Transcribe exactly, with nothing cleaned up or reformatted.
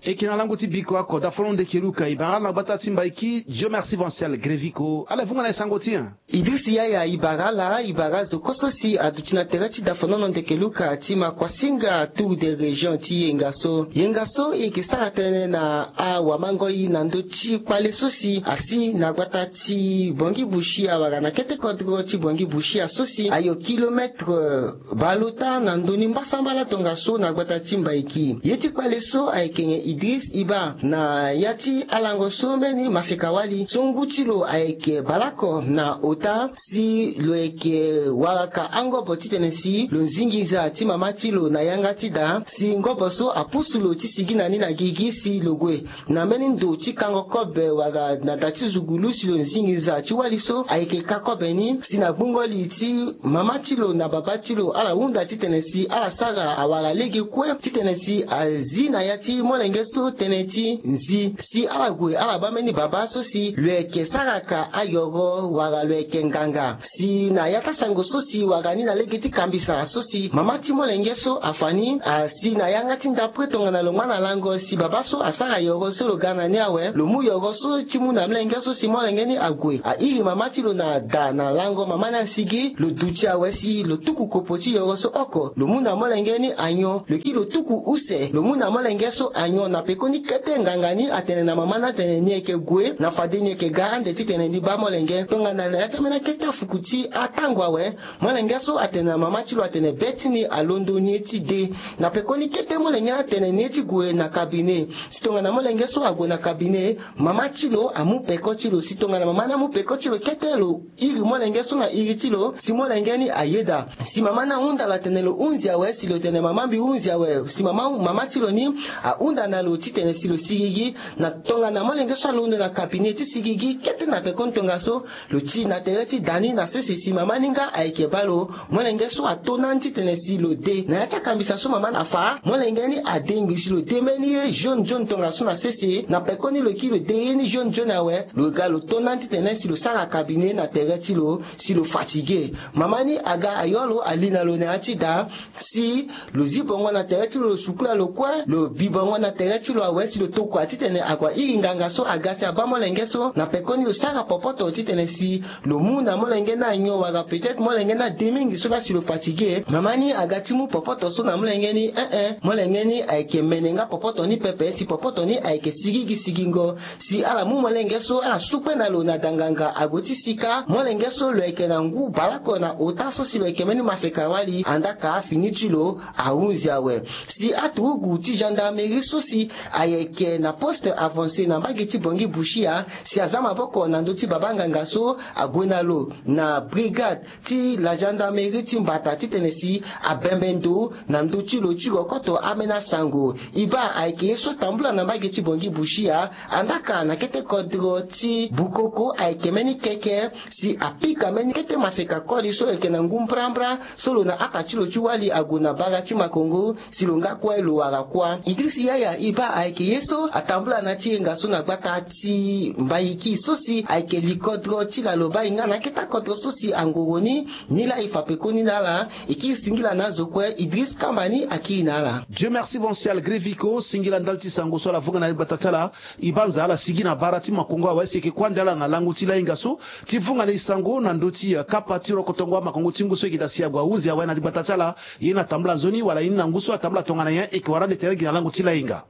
Eke na lango ti biko oko dafono ndeke luka ibara na gbata ti mbaiki Dieu merci vancial greviko ala vunga na esango ti. Idris yaya ibara ala ibara zo koso si aduti na tere ti dafono ndeke luka ti makuasinga tour de région ti yenga so yenga so eke sara tënë na awamangoi na ndö ti kpale so si asi na gbata ti bongi bushia wala na kete kodro ti bongi bushia so si ayo kilometre balota na ndoni mbasambala tongaso na gbata ti mbaiki ye ti kpale so ayeke nyen idris iba na ya ti alango so mbeni maseka wali so ngu ti lo ayeke baleoko na ota si lo yeke waraka angobo titene si lo zingi nza ti mama ti lo na yanga ti da si ngobo so apusu lo ti sigi na ni na gigi si lo gue na mbeni ndo ti kango kobe wala na da ti zugulu si lo zingi nza ti wali so ayeke ka kobe ni si na gbungo li ti mama ti lo na baba ti lo ala hunda titene si ala sara awara lege kue titene si azi na ya ti molenge so tënë ti nzi si ala gue ala baa mbeni baba so si lo yeke saraka ayoro wala lo yeke nganga si na ya ti asango so si wara ni na lege ti kambisa so si mama ti molenge so afa ni asi na yanga ti ndapre tongana lo ngba na lango si baba so asara yoro so lo ga na ni awe lo mu yoro so ti mu na molenge so si molenge ni ague airi mama ti lo na da na lango mama ni asigi lo duti awe si lo tuku kopo ti yoro so oko lo mu na molenge ni anyon lo kiri lo tuku use lo mu na molenge so anyon na pekoni kete nganga ni atene na mama ni atene ni yeke gue na fade ni yeke ga ande titene ni baa molenge tongana na ya ti ambeni akete afuku ti atango awe molenge so atene na mama ti lo atene be ti ni alondo ni ye ti de na pekoni kete molenge ni atene ni ye ti gue na kabine si tongana molenge so ague na kabine mama ti lo amu peko ti lo si tongana mama ni amu peko ti lo kete lo iri molenge so na iri ti lo si molenge ni ayeda si mama ni ahunda lo atene lo hunzi awe si lo tene mama mbi hunzi awe si mama mama ti lo ni ahunda na lo titene si lo sigigi na tongana molenge so alondo na kabine ti sigigi kete na pekoni tongaso lo ti na tere ti da ni na sese si mama ni nga ayeke baa lo molenge so ato na ni titene si lo de na ya ti akambisa so mama ni afa molenge ni adengbi si lo de mbeni ye jaune jaune tongaso na sese na pekoni lo kiri lo de ye ni jaune jaune awe lo ga lo to na ni titene si lo sara kabine na tere ti lo si lo fatigue mama ni aga ayo lo ali na lo na ya ti da si lo zi bongo na tere ti lo lo sukula lo kue lo bi bongo na tere ti lo awe si lo tokua titene akua iri nganga so aga si abaa molenge so na pekoni lo sara popoto titene si lo mu na molenge ni anyon wala peut-être molenge ni ade mingi so laa si lo fatigue mama ni aga ti mu popoto so na molenge ni eh eh molenge ni ayeke mene nga popoto ni pepe si popoto ni ayeke sigigi sigingo si ala mu molenge so ala sukpe na lo na da nganga ague ti sika molenge so lo yeke na ngu baleoko na ota so si lo yeke mbeni maseka wali andaka fini ti lo ahunzi awe si aturugu ti gendarmerie so si ayeke na poste avancé na mbage ti bongi bushia si aza maboko na ndö ti baba nganga so ague na lo na brigade ti la gendarmerie ti mbata titene si abembe ndo na ndö ti lo ti kokoto ambeni asango e baa ayeke ye so atambula na mbage ti bongi bushia andaka na kete kodro ti bukoko ayeke mbeni keke si apika mbeni kete maseka koli so ayeke na ngu mbrambra so lo na ata ti lo ti wali ague na bara ti makongo si lo nga kue lo wara kuâ idris yaya e baa ayeke ye so atambula na ti yenga so na gbata ti mbayiki so si ayeke likodro ti laloba e nga na akete akodro so si angoro ni ni laa e fa pekoni na ala e kiri singila na azo kue idris kamba ni akiri na ala. Dieu merci vancial greviko singila ndali ti sango so ala vunga na ye gbata ti ala e banza ala sigi na bara ti makongo awe si eke kuâ nde ala na lango ti layenga so ti vunga na e sango na ndö ti kapa ti rokotongo amakongo ti ngu so eke daa si ague ahunzi awe na ligbata ti ala ye na tambula nzoni wala ye ni na ngu so atambula tongana nyen eke wara ande tere gi na lango ti layenga.